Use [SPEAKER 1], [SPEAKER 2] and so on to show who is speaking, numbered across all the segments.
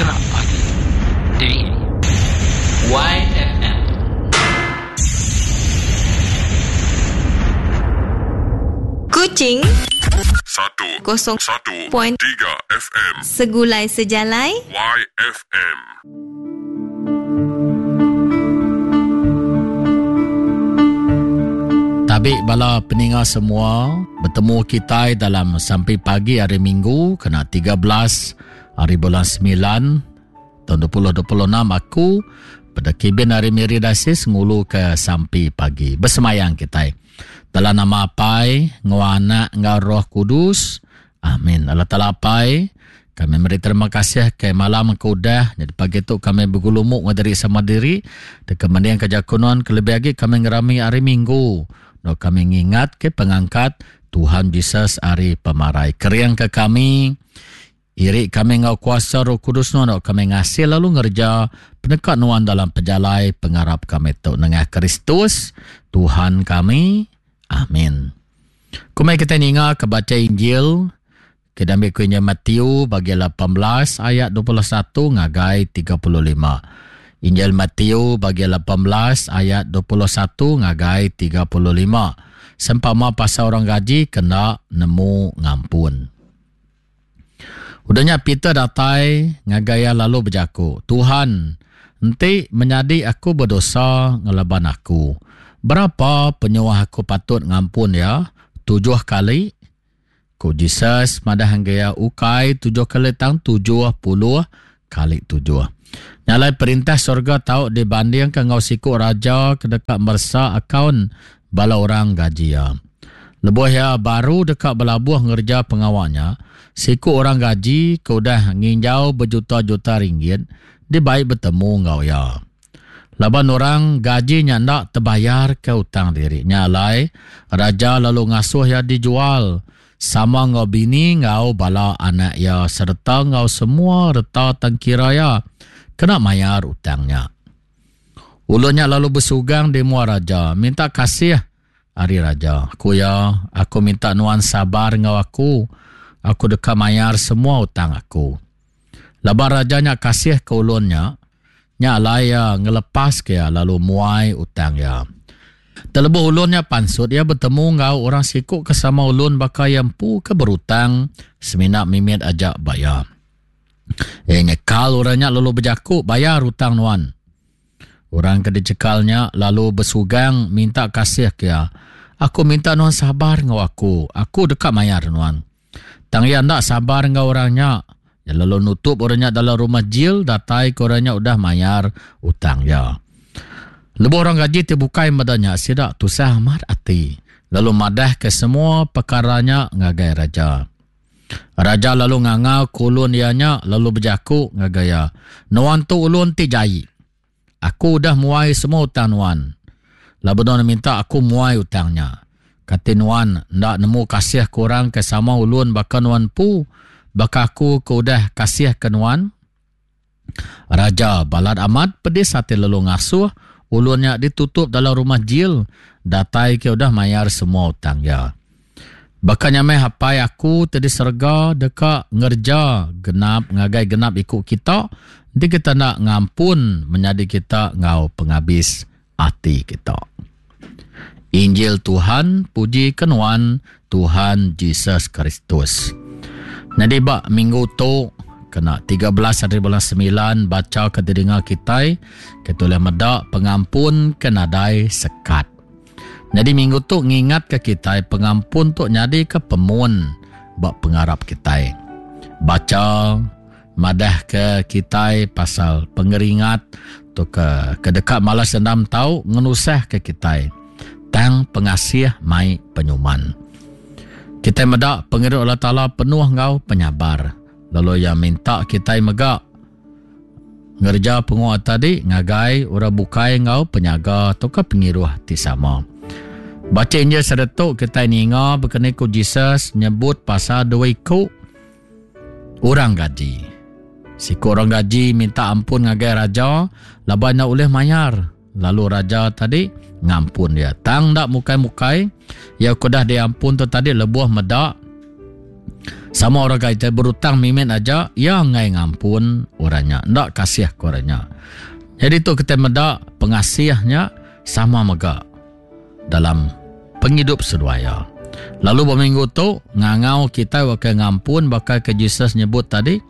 [SPEAKER 1] Geram Pagi di YFM.
[SPEAKER 2] Kuching
[SPEAKER 3] Satu
[SPEAKER 2] kosong
[SPEAKER 3] satu
[SPEAKER 2] point
[SPEAKER 3] tiga FM
[SPEAKER 2] Segulai Sejalai
[SPEAKER 3] YFM.
[SPEAKER 4] Tabi bala peninga semua, betemu kitai dalam sampai pagi hari Minggu kena 13 hari bulan 9 tahun 2026 aku pada kibin hari Miri Dasis ngulu ke sampai pagi. Bersemayang kitai. Dalam nama Apai, ngau Anak, ngau Roh Kudus. Amin. Allah Ta'ala Apai, kami meri terima kasih ke malam ke udah. Jadi pagi tu kami bergulumuk ngadiri sama diri. Deka mending ke jakunan, kelebih lagi kami ngerami hari Minggu. No kami ngingat ke pengangkat Tuhan Jesus hari pemarai. Kering ke kami, iri kami ngau kuasa Roh Kudus no, no kami ngasih lalu ngerja penekat nuan dalam pejalai pengarap kami tu nengah Kristus Tuhan kami. Amin. Kumai kita ninga ke baca Injil kita ambil ku Injil Matthew bagi 18 ayat 21 ngagai 35. Injil Matthew bagi 18 ayat 21 ngagai 35. Sempama pasal orang gaji kena nemu ngampun. Udahnya Peter datai ngagai ia lalu berjaku, Tuhan, enti menyadi aku berdosa ngelaban aku, berapa penyuah aku patut ngampun ya? 7 kali? Ku Jesus madah hangga ukai 7 kali tang 70 kali 7. Nyalai perintah surga tau dibanding ke ngau siku raja ke dekat mersa akaun bala orang gaji ya. Lebuh ya baru dekat belabuh ngerja pengawalnya, siku orang gaji ke udah nginjau berjuta-juta ringgit, dia baik bertemu ngau ya. Laban orang gaji nya ndak terbayar ke utang diri. Nyalai raja lalu ngasuh ya dijual sama ngau bini ngau bala anak ya serta ngau semua reta tangkira ya kena mayar utangnya. Ulunnya lalu bersugang di mua raja, minta kasih hari raja. Aku ya, aku minta nuan sabar ngau aku. Aku deka mayar semua utang aku. Laban rajanya kasih ke ulunnya, nya alai ya ngelepas ke ya lalu muai utang ya. Terlebuh ulunnya pansut, ia bertemu ngau orang sikuk ke sama ulun bakal yang pu ke berutang semina mimit ajak bayar. Nyekal orangnya lalu berjakuk bayar utang nuan. Orang ke dicekalnya lalu bersugang minta kasih ke ya. Aku minta nuan sabar ngau aku. Aku dekat mayar nuan. Tang ia ndak sabar ngau orangnya. Ya lalu nutup orangnya dalam rumah jil datai ke orangnya udah mayar utang ya. Lebuh orang gaji terbukai madanya sidak tusah amat ati. Lalu madah ke semua perkaranya ngagai raja. Raja lalu ngangau kulun ianya lalu berjaku ngagai ya. Nuan tu ulun ti jai. Aku udah muai semua utang nuan. Lalu nuan minta aku muai utangnya. Kata nuan ndak nemu kasih kurang ke sama ulun baka nuan pu baka aku ke udah kasih ke nuan. Raja balad amat pedis hati lalu ngasuh ulunnya ditutup dalam rumah jil datai ke udah mayar semua utang ya. Bahkan nyamai hapai aku tadi serga deka ngerja genap ngagai genap ikut kita nanti kita nak ngampun menjadi kita ngau penghabis hati kita. Injil Tuhan, puji kenuan Tuhan Jesus Kristus. Jadi bak minggu tu kena 13 hari bulan 9 baca ke telinga kita kita boleh medak pengampun ke nadai sekat. Jadi minggu tu ngingat ke kita pengampun tu nyadi ke pemun bak pengarap kita. Baca madah ke kita pasal pengeringat tu ke kedekat malas dendam tau ngenusah ke kita. Tang pengasih mai penyuman. Kita medak pengiru Allah Taala penuh ngau penyabar. Lalu yang minta kita megak ngerja penguat tadi ngagai orang bukai ngau penyaga atau ke pengiruh ti sama. Baca Injil seretuk kita ninga berkenai ku Jesus nyebut pasal dua iku orang gaji. Siku orang gaji minta ampun ngagai raja laban nak oleh mayar. Lalu raja tadi ngampun dia. Tang dak mukai-mukai ya kudah diampun tu tadi lebuh medak. Sama orang kitai berutang mimit aja iya enggai ngampun orang nya enda kasih ke orang nya. Jadi tu kitai meda pengasih nya sama mega dalam pengidup seduai iya. Lalu ba minggu tu ngangau kitai waka ngampun baka ke Jesus nyebut tadi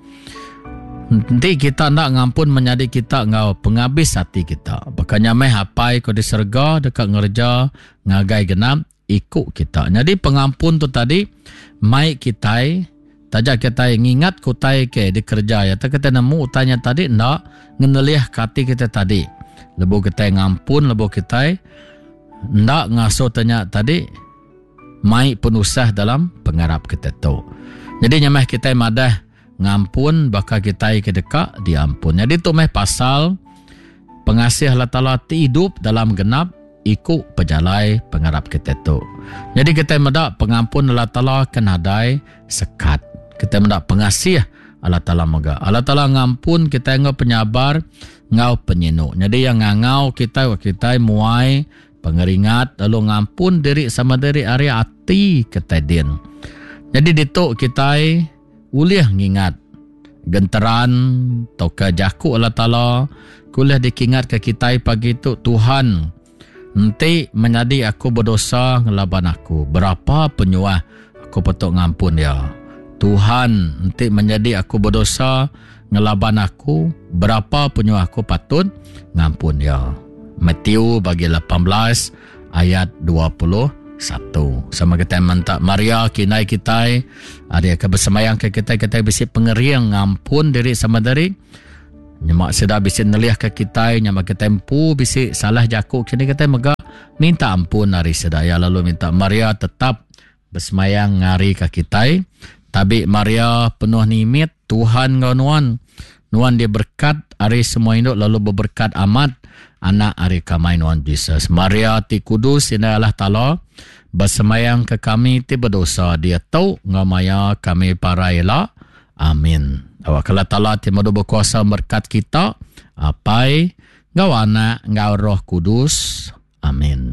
[SPEAKER 4] enti kita enda ngampun menyadi kita enggau pengabis ati kita baka nya meh Apai ke di serega deka ngereja ngagai genap iku kita. Nyadi pengampun tu tadi mai kitai taja kitai ngingat ke utai ke dikereja iya tang kitai nemu utai nya tadi enda ngenelih ke ati kitai tadi. Lebuh kitai ngampun lebuh kitai enda ngasuh te nya tadi mai penusah dalam pengarap kitai tu. Nyadi nya meh kitai madah ngampun baka kitai ke deka diampun. Nyadi tu meh pasal pengasih Allah Taala ti idup dalam genap iku pejalai pengarap kitai tu. Nyadi kitai meda pengampun Allah Taala ke nadai sekat. Kitai meda pengasih Allah Taala mega. Allah Taala ngampun kitai enggau penyabar enggau penyinu. Nyadi iya ngangau kitai wak kitai muai pengeringat lalu ngampun diri sama diri ari ati kitai din. Nyadi ditu kitai ulih ngingat genteran tauka jaku Allah Taala ke ulih dikingatka kitai pagi tu, Tuhan, enti menyadi aku bedosa ngelaban aku, berapa penyuah aku patut ngampun iya? Tuhan, enti menyadi aku bedosa ngelaban aku, berapa penyuah aku patut ngampun iya? Matthew bagi 18 ayat 21. Sama kitai menta Maria ke indai kitai, ari ke besembayang ke kitai, kitai bisi pengering ngampun diri sama diri. Nyema sida bisi nelih ke kitai, nyema kitai empu bisi salah jaku kini kitai mega minta ampun ari sida iya lalu minta Maria tetap besemayang ngari ka kitai. Tabi Maria penuh nimit, Tuhan enggau nuan. Nuan diberkat ari semua indu lalu beberkat amat anak ari kamai nuan Jesus. Maria ti kudus indai Allah Taala, besemayang ke kami ti bedosa diatu enggau maya kami parai ila. Amin. Awakka Allah Taala ti madu bekuasa merkat kita, Apai, enggau Anak, enggau Roh Kudus. Amin.